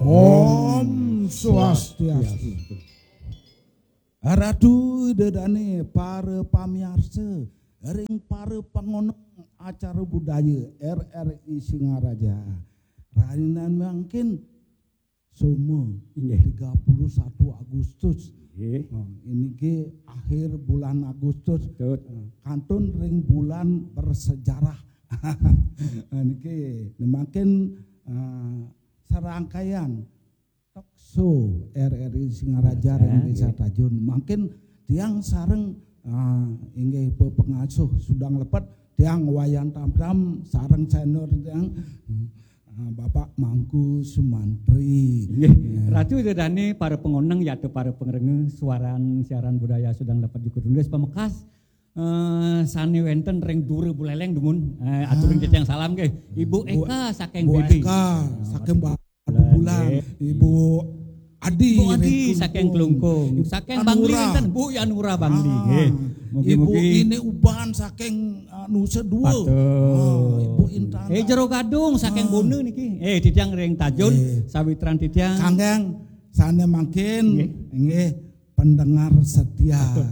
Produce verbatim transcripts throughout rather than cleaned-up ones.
Om Swastiastu. Ratu Ida Dane, para pamiarsa ring para pangoneng acara budaya R R I Singaraja. Rainan mangkin Soma, inggih, tiga puluh satu Agustus. Nggih. Oh, ini ke akhir bulan Agustus. Betul. Eh, kantun ring bulan bersejarah. Niki mangkin, eh, serangkaian talk show R R I Singaraja ring Desa Tajun. Mangkin tiang sareng, eh, inggih pepengasuh Sudang Lepet, tiang Wayan Tamtam sareng senior tiang, eh, Bapak Mangku Sumantri. Nggih, ya. Ratu Ida Dane, para pengoneng yata para pengrengeh suaran siaran budaya Sudang Lepet Jukut Undis pamekas, eh, sane wenten ring dura Buleleng dumun. Eh, aturin titiang salam nggih. Ibu Eka saking Bu B B. Eka saking Ba-, Bubulan. Ibu Adi Ibu Adi ring saking Klungkung. Klungkung. Saking Bangli Anura. Wenten Bu Yanura Bangli. Ah, nggih. Mugi-mugi. Ibu Ine Uban saking, ah, Nusa Dua. Betul. Ah, Ibu Intan. Eh, Jero Gadung saking Bona niki. Eh, titiang ring Tajun, eh, sawitran titiang. Kanggang sane mangkin, nggih, nggih, pendengar setia. Betul.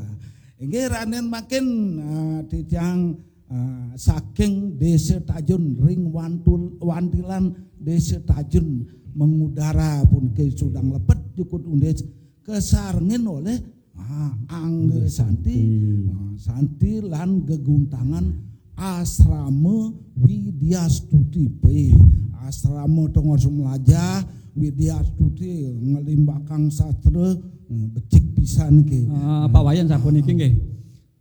Inggih, ranen mangkin, eh, titiang, eh, saking Desa Tajun ring Wantul, Wantilan Desa Tajun mengudara puniki Sudang Lepet Jukut Undis kasarengin oleh, ah, Angga Santi, ah, Santi lan geguntangan Asrama Widya Stuti. Pe, Asrama Tongos Melajah, Widya Stuti, ngelimbakang sastra, eh, becik pisan ke. Ah, Pak Wayan sapuniki nggih.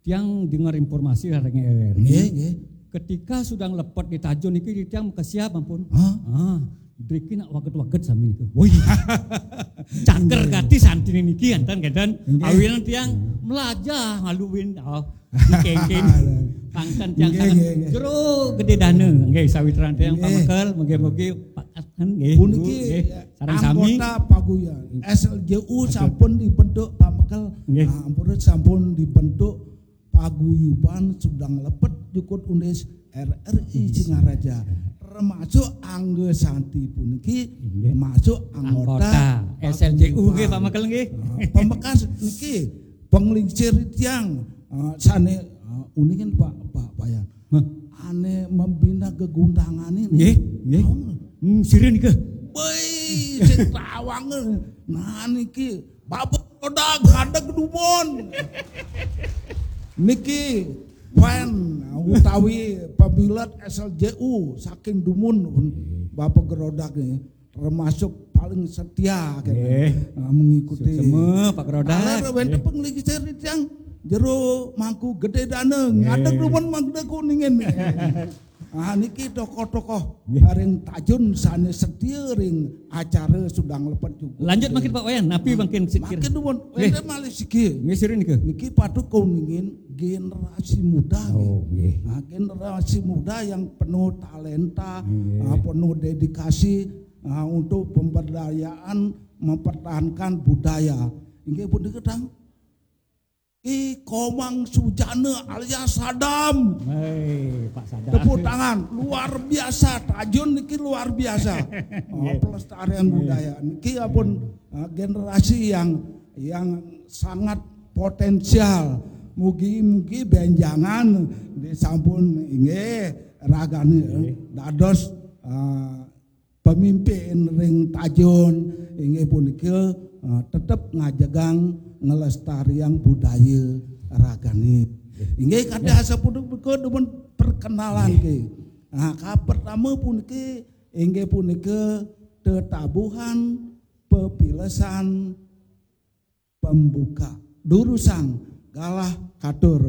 Tiang dengar informasi ring R R I. Nggih, nggih. Ketika Sudang Lepet di Tajun niki tiang makesiab ampun. Hah? Ah, driki nak waget-waget sami niku. Woi. Caker gati santine niki enten kenten. Nggih. Awinan tiang melajah ngaluin, oh, dikengken. Pangken tiang nggih, sanget nggih, nggih. Jero Gede Dana. Nggih, sawitran tiang nggih. Pamekel, mugi-mugi Pak Asman nggih. Puniki nggih. Sareng sami. Anggota paguyuban S L J U. Betul. Sampun dibentuk pamekel. Nggih. Nah, ampun sampun dibentuk paguyuban Sudang Lepet Jukut Undis R R I Singaraja. Termasuk Angga Santi puniki nggih. Termasuk anggota, anggota S L J U nggih, paguyuban. Pamekel nggih. Nah, pamekas niki penglingsir tiang, eh, sane, eh, uningan Pak, Pak Wayan. Hah? Ane membina geguntangan ini. Nggih, nggih. Tahu nggak? Hmm, sira nika. Woi, sing tawang. Nah, niki Bapak Rodak ngadeg dumun. Niki fan utawi pemilet S L J U saking dumun Bapak Gerodak niki. Termasuk paling setia kene. Nggih. Nah, mengikuti. Suksema, Pak Gerodak. Taler wenten nggih. Penglingsir tiang jero Mangku Gede Dana, nggih. Ngadeg dumun Mangku Kuningin. Ah, niki tokoh-tokoh nggih. Ring Tajun sane setia ring acara Sudang Lepet Jukut. Lanjut mangkin Pak Wayan, napi mangkin sikil? Mangkin dumun, nggih. Wenten malih siki. Nggih, sira nika. Niki patut kuningin generasi muda nggih. Oh, nggih. Nah, generasi muda yang penuh talenta, nggih. Ah, penuh dedikasi, ah, untuk pemberdayaan mempertahankan budaya. Inggih punika tang Ki Komang Sujana alias Sadam. Hei, Pak Sadam. Tepuk tangan, luar biasa. Tajun niki luar biasa. Oh, nggih. Pelestarian nggih. Budaya. Niki ampun, eh, generasi yang, yang sangat potensial. Mugi-mugi benjangan disampun inggih ragane, nggih. Dados, eh, pemimpin ring Tajun inggih punika, eh, tetep ngajegang ngelestariang budaya ragane. Inggih kadi asapunika dumun perkenalan nggih. Nah, kapertama puniki inggih punika tetabuhan pepilesan pembuka. Durusang galah katur.